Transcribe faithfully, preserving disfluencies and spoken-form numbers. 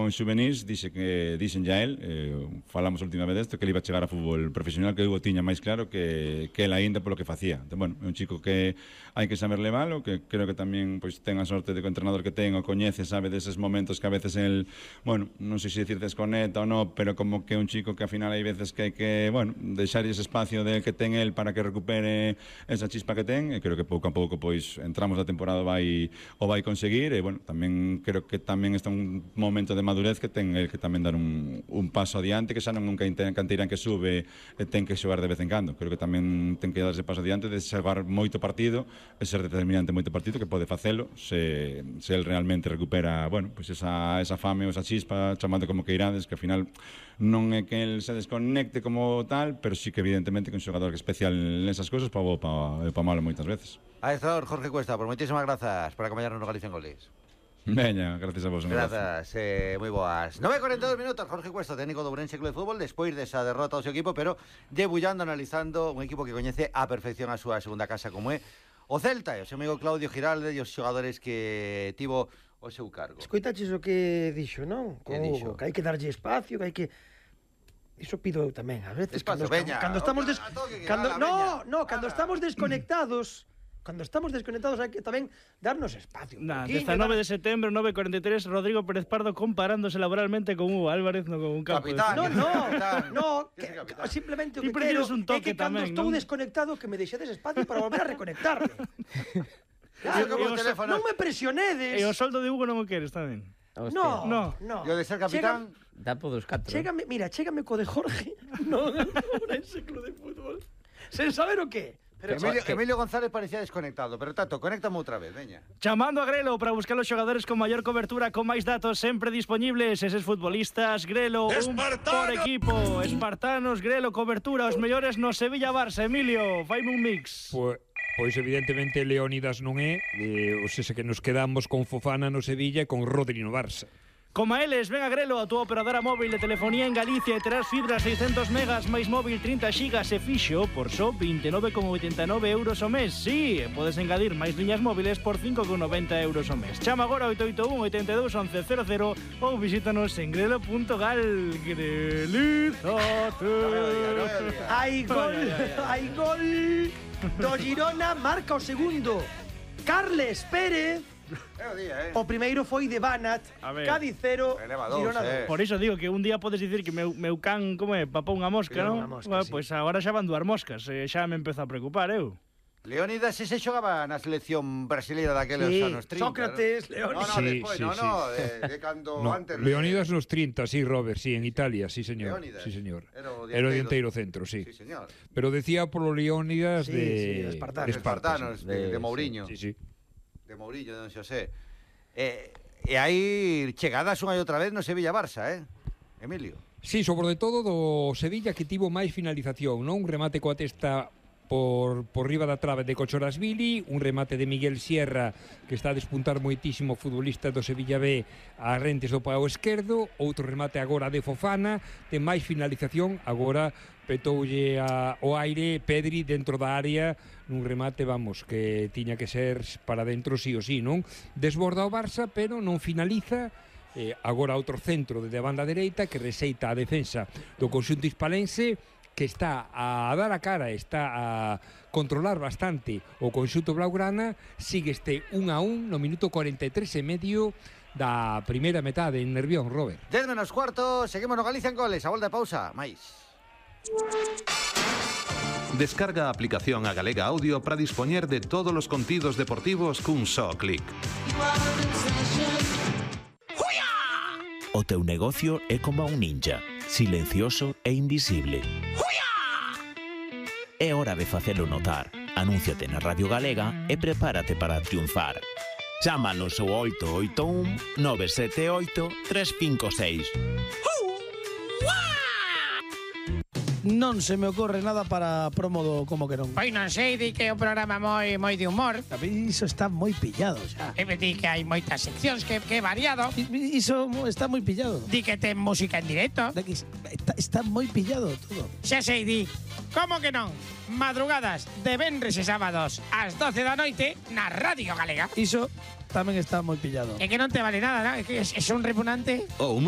en xuvenís, dixe que dixen ya él, eh, falamos a última vez desto, que ele iba a chegar a fútbol profesional, que Hugo tiña máis claro que, que ele aínda polo que facía. Entón, bueno, é un chico que hai que saber levalo, que creo que tamén pois, ten a sorte de que o entrenador que ten o coñece, sabe deses momentos que a veces el, bueno, non sei se dicir desconecta ou non, pero como que un chico que ao final hai veces que hai que, bueno, deixar ese espacio de que ten el para que recupere esa chispa que ten, e creo que pouco a pouco pois entramos da temporada vai o vai conseguir, e bueno, tamén creo que tamén está un momento de madurez que ten el que tamén dar un, un paso adiante, que xa non é un canteirán que sube e ten que xogar de vez en cando. Creo que tamén ten que dar ese paso adiante de xogar moito partido e ser determinante moito partido, que pode facelo se, se el realmente recupera, bueno, pues esa, esa fame ou esa chispa, chamando como que irades, que ao final non é que el se desconecte como tal, pero sí que evidentemente que un xogador que especial nesas cousas pa bo pa, pa malo moitas veces. Adestrador Jorge Cuesta, por moitísimas grazas por acompañarnos no Galicia en Goles. Veña, gracias a vos. Grazas, eh, moi boas. nove e cuarenta e dos minutos, Jorge Cuesta, técnico do Ourense Club de Fútbol, despois desa derrota ao seu equipo, pero debullando, analizando un equipo que coñece a perfección a súa segunda casa como é o Celta, e o seu amigo Claudio Giralde e os xogadores que tivo o seu cargo. Escoitaches o que dixo, non? Que dixo? Que hai que darlle espacio, que hai que... Iso pido eu tamén, a veces, Espacio, cando, veña, cando estamos des... a toque, ala, cando... No, veña, no, cando ala. estamos desconectados, cando estamos desconectados hai que tamén darnos espacio. Nah, Aquí, dezanove dar... de setembro, nove e cuarenta e tres, Rodrigo Pérez Pardo comparándose laboralmente con Hugo Álvarez, no con un campo. Capitán. No, no, Capitán. no, Que que, capitán. simplemente o Ti que quero prefires un é toque que cando tamén, estou non? desconectado que me deixedes espacio para volver a reconectarme. Claro, como E o os- teléfono. Non me presionedes. E o soldo de Hugo non o queres tamén. No, No. no. E o de ser capitán, Dá por dos catro. Chégame, mira, chégame co de Jorge. No, no, ese club de fútbol. Sen saber o qué. Pero Emilio, que... Emilio González parecía desconectado, pero Tato, conéctame outra vez, veña. Chamando a Grelo para buscar os xogadores con maior cobertura, con máis datos sempre disponibles. Eses futbolistas, Grelo, un por equipo. Espartanos, Grelo, cobertura, os mellores no Sevilla-Barça. Emilio, faime un mix. Pois, pois evidentemente Leónidas non é, eh, ou seja que nos quedamos con Fofana no Sevilla e con Rodri no Barça. Como a eles, ven a Grelo, a túa operadora móvil de telefonía en Galicia, e terás fibra seiscentos megas máis móvil trinta xigas e fixo por só vinte e nove coma oitenta e nove euros ao mes. Sí, podes engadir máis liñas móviles por cinco coma noventa euros ao mes. Chama agora oito oito un, oito dos, once cero cero ou visítanos en grelo punto gal. Grelizate. Hai gol, hai gol do Girona, marca o segundo Carles Pérez. É o día, eh? O primeiro foi de Banat, A ver. Cádiz cero, Eleva dous, Girona eh. dos. Por iso digo que un día podes dicir que meu, meu can, como é, papou unha mosca, Papou non? unha mosca, Bueno, sí. pois agora xa van duas moscas, e xa me empezo a preocupar, eu. Leónidas ese xogaba na selección brasileira daqueles Sí, anos trinta. Sócrates, ¿no? Leónidas. No, no, Sí, despois, sí, no, sí. no, de, de cando No, antes... Leónidas nos trinta, sí, Robert, sí, en Italia, sí, señor. Leónidas. Sí, señor. Era o Era o dianteiro. dianteiro centro, sí. Sí, señor. Pero decía polo Leónidas Sí, de sí, Espartanos. de Esparta, Espartanos, sí. de, de Mourinho. Sí, sí. De Mourinho, de don Xosé. Eh, e aí chegadas unha e outra vez no Sevilla-Barça, eh? Emilio. Sí, sobre todo do Sevilla, que tivo máis finalización, non? Un remate coa testa por, por riba da trave de Cochorasvili, un remate de Miguel Sierra, que está a despuntar moitísimo futbolista do Sevilla B a rentes do pau esquerdo, outro remate agora de Fofana, ten máis finalización, agora petoulle a, o aire Pedri dentro da área nun remate, vamos, que tiña que ser para dentro sí o sí, non? Desborda o Barça, pero non finaliza. Eh, agora outro centro de banda dereita que reseita a defensa do conxunto hispalense, que está a dar a cara, está a controlar bastante o conxunto blaugrana. Sigue este un a un no minuto cuarenta e tres e medio da primeira metade en Nervión, Robert. dez menos cuarto, seguimos no Galicia en Goles. A volta de pausa, máis. Descarga a aplicación a Galega Audio para dispoñer de todos os contidos deportivos cun só clic. O teu negocio é como un ninja, silencioso e invisible. É hora de facelo notar. Anúnciate na Radio Galega e prepárate para triunfar. Chámanos ao oito oito un, nove sete oito, tres cinco seis. Non se me ocorre nada para promo do Como que non. Pois non sei, di que é un programa moi moi de humor. A mí iso está moi pillado xa. E me di que hai moitas seccións, que, que é variado. I- Iso está moi pillado. Di que ten música en directo. Daqui Está, está moi pillado todo. Xa sei, di. Como que non? Madrugadas de venres e sábados ás doce da noite na Radio Galega. Iso tamén está moi pillado. É que non te vale nada, ¿no? É que é, é un repugnante. O humor